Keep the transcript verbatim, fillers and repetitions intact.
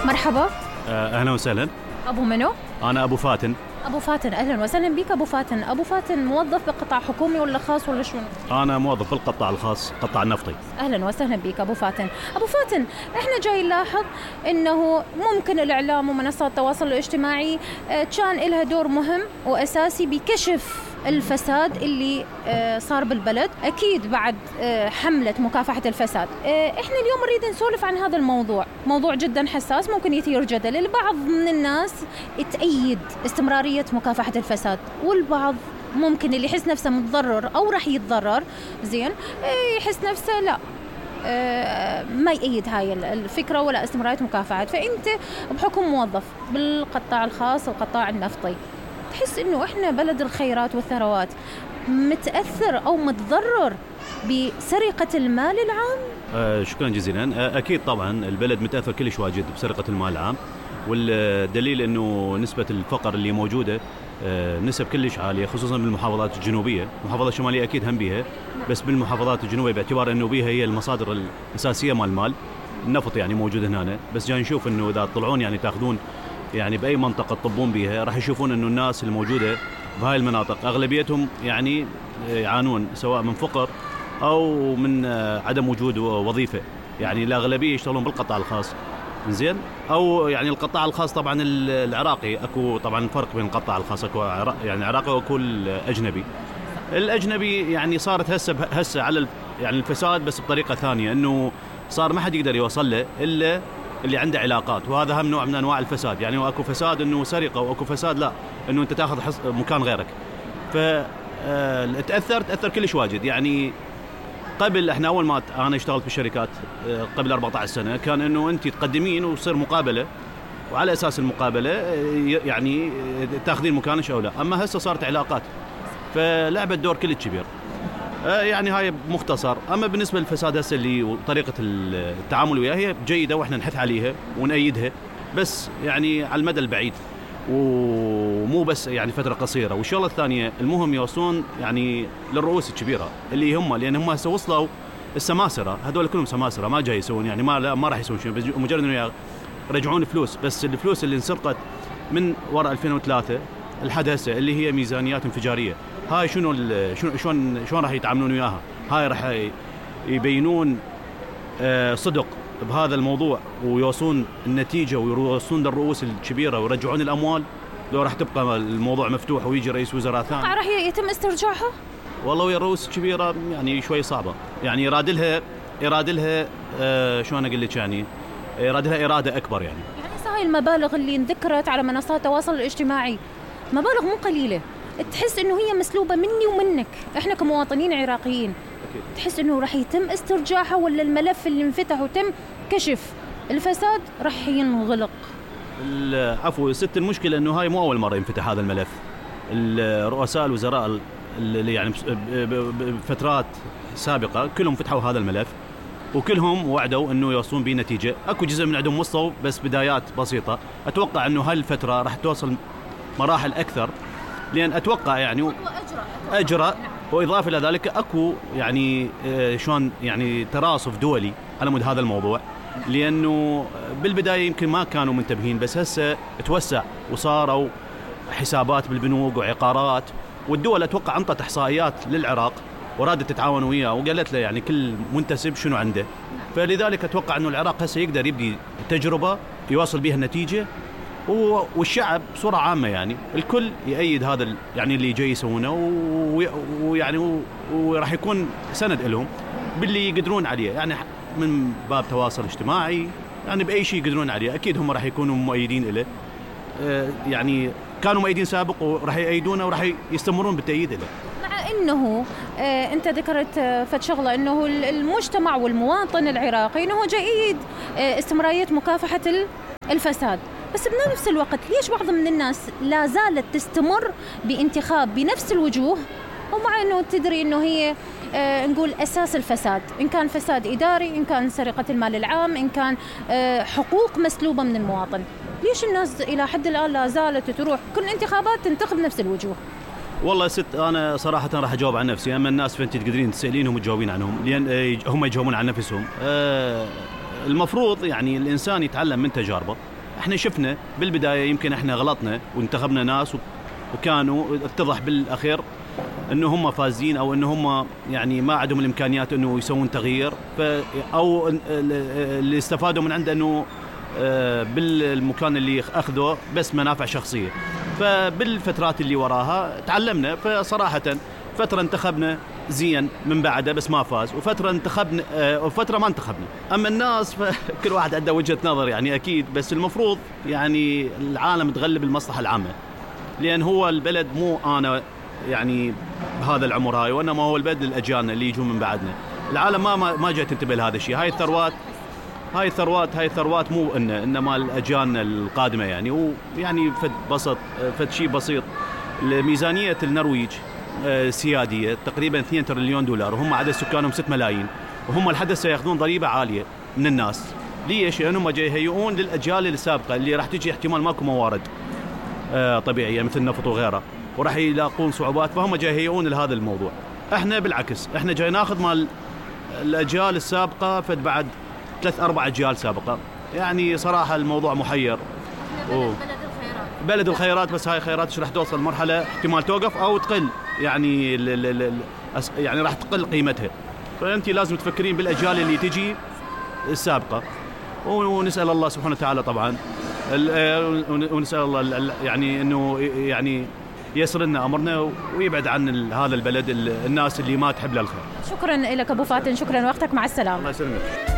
مرحبا. آه، أهلا وسهلا. أبو منو؟ أنا أبو فاتن. أبو فاتن، أهلا وسهلا بك أبو فاتن. أبو فاتن موظف بقطاع حكومي ولا خاص ولا شنو؟ أنا موظف بالقطاع الخاص، قطاع النفطي. أهلا وسهلا بك أبو فاتن. أبو فاتن، إحنا جاي نلاحظ إنه ممكن الإعلام ومنصات التواصل الاجتماعي كان لها دور مهم وأساسي بكشف الفساد اللي صار بالبلد، أكيد بعد حملة مكافحة الفساد. إحنا اليوم نريد نسولف عن هذا الموضوع، موضوع جدا حساس، ممكن يثير جدل. البعض من الناس تأيد استمرارية مكافحة الفساد، والبعض ممكن اللي يحس نفسه متضرر أو رح يتضرر زين يحس نفسه لا ما يأيد هاي الفكرة ولا استمرارية مكافحة. فأنت بحكم موظف بالقطاع الخاص والقطاع النفطي، تحس إنه إحنا بلد الخيرات والثروات متأثر أو متضرر بسرقة المال العام؟ آه شكرا جزيلا. آه أكيد طبعا البلد متأثر كلش واجد بسرقة المال العام، والدليل إنه نسبة الفقر اللي موجودة آه نسب كلش عالية، خصوصا بالمحافظات الجنوبية. المحافظات الشمالية أكيد هم بيها، بس بالمحافظات الجنوبية باعتبار إنه بيها هي المصادر الأساسية مال المال النفط يعني موجود هنا. بس جاي نشوف إنه إذا تطلعون يعني تأخذون يعني بأي منطقة تطبون بيها راح يشوفون إنه الناس الموجودة بهاي المناطق أغلبيتهم يعني يعانون سواء من فقر أو من عدم وجود وظيفة. يعني الأغلبية يشتغلون بالقطاع الخاص زين، أو يعني القطاع الخاص طبعا العراقي. أكو طبعا فرق بين القطاع الخاص، أكو يعني عراقي وأكو الأجنبي. الأجنبي يعني صارت هسه هسه على يعني الفساد بس بطريقة ثانية، إنه صار ما حد يقدر يوصل له إلا اللي عنده علاقات، وهذا هم نوع من انواع الفساد. يعني اكو فساد انه سرقه، واكو فساد لا انه انت تاخذ مكان غيرك. فتاثر تاثر كلش واجد. يعني قبل احنا اول ما انا اشتغلت بالشركات قبل أربعة عشر سنه كان انه انت تقدمين وتصير مقابله، وعلى اساس المقابله يعني تاخذين مكانك او لا. اما هسه صارت علاقات، فلعبت دور كلش كبير. يعني هاي مختصر. أما بالنسبة للفساد هسه اللي وطريقة التعامل وياها هي جيدة وإحنا نحث عليها ونأيدها، بس يعني على المدى البعيد ومو بس يعني فترة قصيرة. والشغلة الثانية المهم يوصلون يعني للرؤوس الكبيرة اللي هم، لأن هم هسه وصلوا السماسرة، هذول كلهم سماسرة ما جاي يسوون يعني ما ما راح يسوون شيء، بس مجرد إنه يرجعون فلوس. بس الفلوس اللي انسرقت من وراء ألفين وثلاثة لحد هسه اللي هي ميزانيات انفجارية، هاي شنو شلون شلون شلون راح يتعاملون وياها؟ هاي راح يبينون صدق بهذا الموضوع ويوصلون النتيجة ويوصلون للرؤوس الكبيرة ويرجعون الأموال، لو راح تبقى الموضوع مفتوح ويجي رئيس وزراء ثاني راح يتم استرجاعها؟ والله ويا الرؤوس الكبيرة يعني شوي صعبة. يعني يرادلها يرادلها آه شلون أقول لك يعني يرادلها إرادة أكبر. يعني يعني هاي المبالغ اللي انذكرت على منصات التواصل الاجتماعي مبالغ مو قليلة، تحس إنه هي مسلوبة مني ومنك إحنا كمواطنين عراقيين. أكيد. تحس إنه راح يتم استرجاعها ولا الملف اللي انفتح وتم كشف الفساد راح ينغلق؟ عفوا ست، المشكلة إنه هاي مو أول مرة ينفتح هذا الملف. الرؤساء الوزراء اللي يعني بفترات سابقة كلهم فتحوا هذا الملف وكلهم وعدوا إنه يوصلون به نتيجة. أكو جزء من عندهم وصلوا بس بدايات بسيطة. أتوقع إنه هاي الفترة راح توصل مراحل أكثر، لأن أتوقع يعني أجرى. وإضافة إلى ذلك أكو يعني شلون يعني تراصف دولي على مود هذا الموضوع، لأنه بالبداية يمكن ما كانوا منتبهين، بس هسه توسع وصاروا حسابات بالبنوك وعقارات. والدول أتوقع أنطت إحصائيات للعراق ورادت تتعاون وياه وقالت له يعني كل منتسب شنو عنده. فلذلك أتوقع أنه العراق هسه يقدر يبدي تجربة يواصل بها النتيجة، والشعب بصورة عامة يعني الكل يأيد هذا يعني اللي جاي يسوونه، ويعني وراح يكون سند لهم باللي يقدرون عليه، يعني من باب تواصل اجتماعي يعني بأي شيء يقدرون عليه. أكيد هم راح يكونوا مؤيدين له، يعني كانوا مؤيدين سابق وراح يأيدونه وراح يستمرون بالتأييد له. مع أنه آه أنت ذكرت آه فتشغلة أنه المجتمع والمواطن العراقي أنه جيد آه استمرارية مكافحة الفساد، بس بنفس الوقت ليش بعض من الناس لا زالت تستمر بانتخاب بنفس الوجوه، ومع أنه تدري أنه هي آه نقول أساس الفساد، إن كان فساد إداري، إن كان سرقة المال العام، إن كان آه حقوق مسلوبة من المواطن، ليش الناس إلى حد الآن لا زالت تروح كل انتخابات تنتخب نفس الوجوه؟ والله ست، أنا صراحة راح أجاوب عن نفسي. أما الناس فأنت تقدرين تسألينهم وتجاوبين عنهم، لأن هم يجاوبون عن نفسهم. آه المفروض يعني الإنسان يتعلم من تجاربه. احنا شفنا بالبدايه يمكن احنا غلطنا وانتخبنا ناس وكانوا اتضح بالاخير انه هم فازين او انه هم يعني ما عندهم الامكانيات انه يسوون تغيير، ف او اللي استفادوا من عنده انه بالمكان اللي اخذوه بس منافع شخصيه. فبالفترات اللي وراها تعلمنا، فصراحه فتره انتخبنا زين من بعده بس ما فاز، وفتره انتخبنا وفتره ما انتخبنا. اما الناس فكل واحد عنده وجهه نظر يعني اكيد، بس المفروض يعني العالم تغلب المصلحه العامه، لان هو البلد مو انا يعني بهذا العمر هاي، وانما هو البلد للاجيال اللي يجون من بعدنا. العالم ما ما جاي تنتبه لهذا الشيء. هاي الثروات هاي الثروات هاي الثروات مو إن انما الاجيال القادمه يعني. ويعني فد بسط فد شيء بسيط، ميزانيه النرويج سياديه تقريبا اثنين تريليون دولار، وهم عدد سكانهم ستة ملايين، وهم الحدث سياخذون ضريبه عاليه من الناس. ليش؟ لانهم جاي يهيئون للاجيال السابقه اللي راح تجي احتمال ماكو موارد طبيعيه مثل النفط وغيره، وراح يلاقون صعوبات، فهم جاي يهيئون لهذا الموضوع. احنا بالعكس، احنا جاي ناخذ مال الاجيال السابقه فد بعد ثلاث اربع اجيال سابقه. يعني صراحه الموضوع محير. بلد, بلد الخيرات بلد الخيرات، بس هاي الخيرات ايش راح توصل مرحله احتمال توقف او تقل، يعني ال ال ال يعني راح تقل قيمتها. فانت لازم تفكرين بالاجيال اللي تجي السابقه، ونسال الله سبحانه وتعالى طبعا، ونسال الله يعني انه يعني يسر لنا امرنا ويبعد عن هذا البلد الناس اللي ما تحب له الخير. شكرا لك ابو فاتن، شكرا وقتك، مع السلامه. الله يسلمك.